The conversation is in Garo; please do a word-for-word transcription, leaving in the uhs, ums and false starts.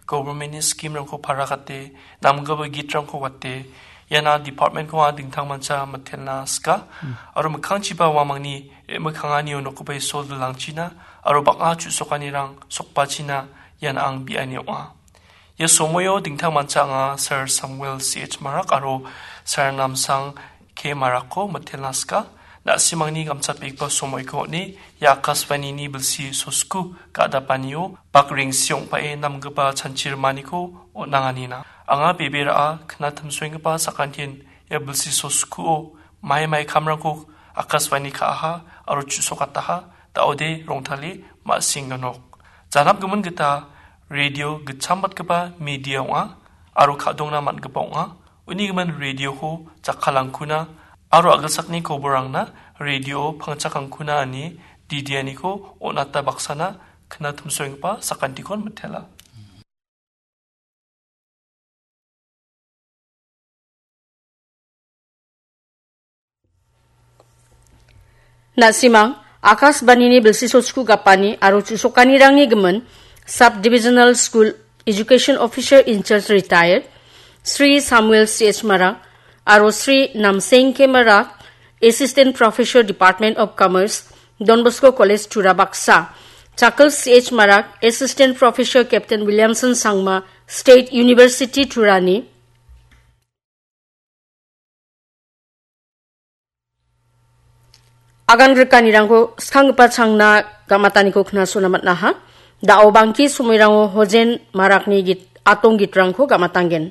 government-ni scheme-rangko parakate, namgipa gitrangko wate, iana department-ko anga dingtangmancha mitelna sika, aro mikkangchiba uamangni re·mikkanganio nokgipa Isol dilangchina, aro bang·a chu·sokanirang sokbachina ian ang bi·ani ong·a. Ia somoio dingtangmancha anga Sir Samuel C H Marak aro Sir Namsang K Marakko mitelna sika, na·simangni gamchatbegipa somoiko on·e, ia Akashvani-ni bilsi sosku ga·dapanio bak rengsi ong·pae namgipa chanchi rimaniko on·anganina. Anga bebe ra·a knatimsoenggipa sakantin ia bilsi soskuo mai mai kamrangko Akashvani ka·aha aro chu·sokataha, da·ode rongtale ma·sing ganok. Janapgimin gita radio gitchambatgipa media ong·a aro ka·dongna man·gipa ong·a. Uni gimin radioko jakkalangkuna aro a·gilsakni koborangna radio pangchakangkuna ine didianiko on·ata baksana knatimsoenggipa sakantikon mitela. Na·simang Akashvani-ni bilsi sosku gapani aro chu·sokanirangni gimin Sub Divisional School Education Officer in Charge Retired Sri Samuel C H Marak aro Sri Namseng K Marak, Assistant Professor, Department of Commerce, Don Bosco College, Tura baksa, Chakal C H Marak, Assistant Professor, Captain Williamson Sangma, State University, Turani, agan grikanirangko skanggipa changna gamataniko knasona man·aha. Da·o bangki somoirango Hojen Marakni git-, atong gitrangko gamatanggen.